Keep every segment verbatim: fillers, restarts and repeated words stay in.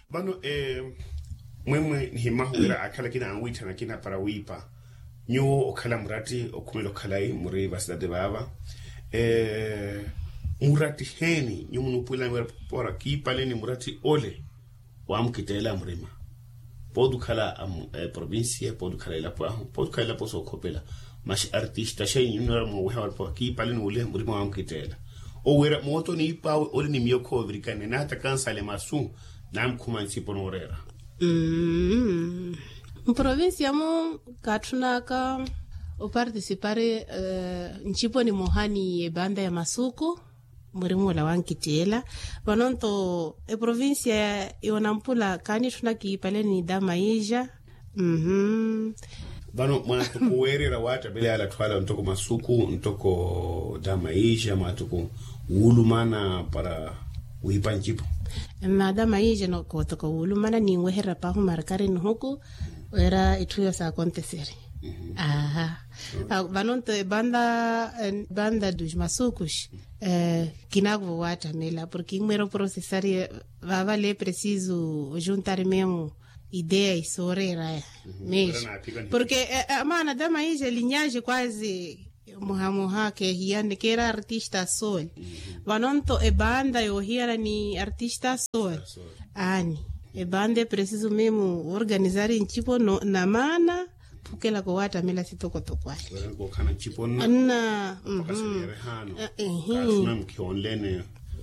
Vano mwemwe nihimahu wira akhala akina anwiithana akina para wiipa. Nyuwo okhala muratti okhumela okhalayi muri vasitati vaava. Muratti heeni nyuwo munuupuwelani wira para kiipaleni muratti ole waamukitteela murima? Pooti okhala provincia pooti okhala elapo ahu pooti okhala elapo sookhopela. Masi artista xeyi nyuwo nora muweha wala para kiipaleni ole murima waamukitteela. Owo wira mootoni iipaawe ole ni miyo khoovirikane naata kansale masu namukhuma ncipo nooreera. Mprovincia-mu kaatthunaka opartisipari ncipo nimoha ni ebanda ya masuku. Murimula wankittiela. Vanonto eprovincia yonampula kaanitthuna kiipale ni damaija. Vano mwaatuku weererya waattamela yaala atthu ala ntoko masuku ntoko damaija mwaatuku wuulumana para wiipa ncipo. Mada maija nokootoko wuulumana ninweherya paahu markari nihuku wira itthu iyo saakonteseri. Aha. Vanonto ebanda dos masukus kinakuvo waattamela porke inmwera oprosesari. Vavale preciso ojuntari memu ideya isooreeraya. Mesmo porke amaana damaija linyaje quase muhamuha keehiyane keera artista sol. Vanonto ebanda yoohiyana ni artista sol. Aani ebanda epreciso memu organizari ncipo na maana. Phukelaka owaattamela sitokotoko ahi. Nna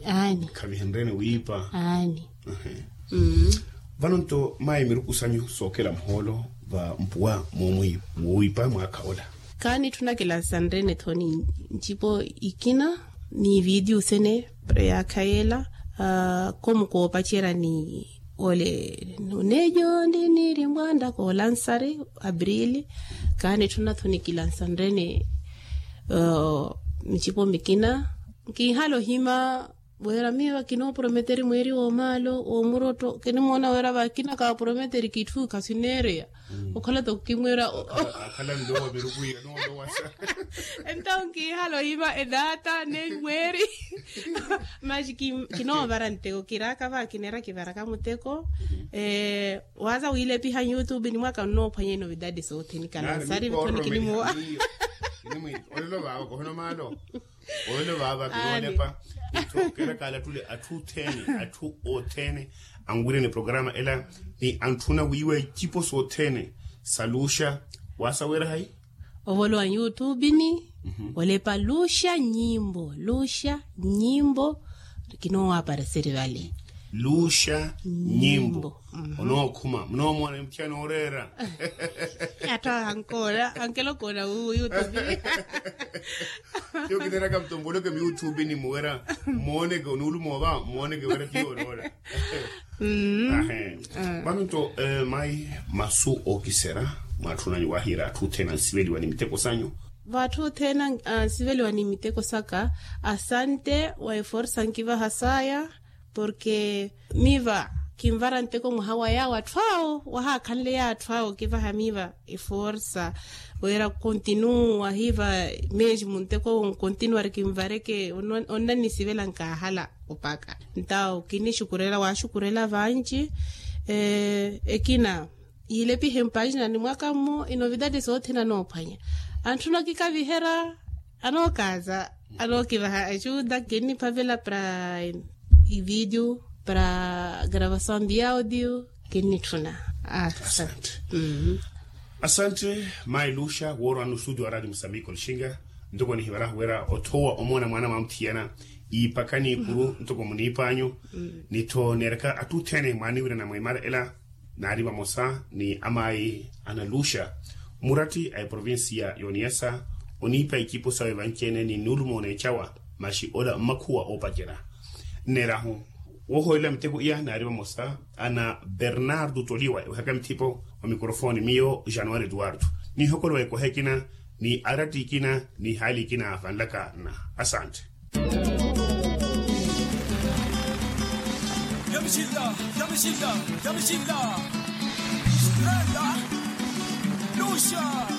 aani. Khavihenrene wiipa aani. Vano nto mayi miruku sanyu sookela muhoolo va mpuwa moowiipa mwaakha ola. Kaanitthuna kilansanrene tho ni ncipo ikina ni vidiu sene. Yaakha yeela. Komu koopacerya ni ole nunejo ndi niiri mbwanda koolansari aprili. Kaanitthuna tho ni kilansanrene ncipo mikina nkinhala ohima. Wira miyo vakinooprometeri mweeri woomaalo woomurotto kinimoona wira vakina kaaprometeri kitthu khasineereya. Okhala toko kimwira akhala nlowa miruku iya noolowasa. Entawo nkihala ohima edaata ne mweeri. Maxi kinoovara nteko kiraaka va kineera kivaraka muteko. Waaza wiilepiha youtube ni mwaka nnoophwanya inovidade soothene kalansari vitho nikinimowa. Olelo vaava kohono maalo. Olelo vaava kinoolepa. Nto keera kaalattule atthu othene atthu othene anwirene programa ela ni antthuna wiiwa icipo sothene sa luxa. Wasaweera hayi? Ovolowa nyutubini olepa luxa nyimbo luxa nyimbo. Kinoowapareseri vale luxa nyimbo. Onookhuma munoomona emuthiya nooreera. Atthu ankoona ankelokoona wuwo yutubini. Yo kineeraka mtomboleke miyutubini muwera mmooneke onuulumoova mmooneke wera tiyo oloora. Ahe. Vano nto mayi masu ookiserya mwaatthunanyu wahiira atthu othene ansiveliwa ni miteko sanyu. Vaatthu othene ansiveliwa ni miteko saka. Asante wa eforsa nkivaha saya porke miva kinvara nteko mwaha wa yaawo atthu awo wahaakhanle yaatthu awo kivaha miva eforsa wira kontinuwa hiva mesmo nteko nkontinuwari kinvareke onnannisivela nkaahala. Opaka ntawo kinixukurela waaxukurela vanci. Ekina yiilepihe mpaaxina ni mwaka mmo inovidade soothene anoophwanya antthuna okikaviherya anookaza anookivaha ajuda kinniphavela para ividio para gravasaw ndi audio. Kinnitthuna asante. Asante mayi luxa woorowani ostudio wa radio musambiki olixinga ntoko nihivarahu wira othoowa omoona mwaana mwaamuthiyana iipaka n'ikuru ntoko muniip'anyu. Ni-tho neeraka atthu othene mwaaniwirana mweemara ela naari vamosa ni amayi ana luxa muratti a eprovincia y'oniyasa oniipa icipo sawe vanci-ene ni nnuulumo oneecawa. Maxi ola mmakhuwa oopacerya nneerahu woohoolela miteko iya naari vamosa ana bernardo toliwa ewehaka mithipo wa mikorofoni miyo januari eduardo. Niihokolowa ekoha ekina ni aratti ikina ni haali ikina vanlaka nna. Asante. Yamixinla yamixinla yamixinla. Strela luxa.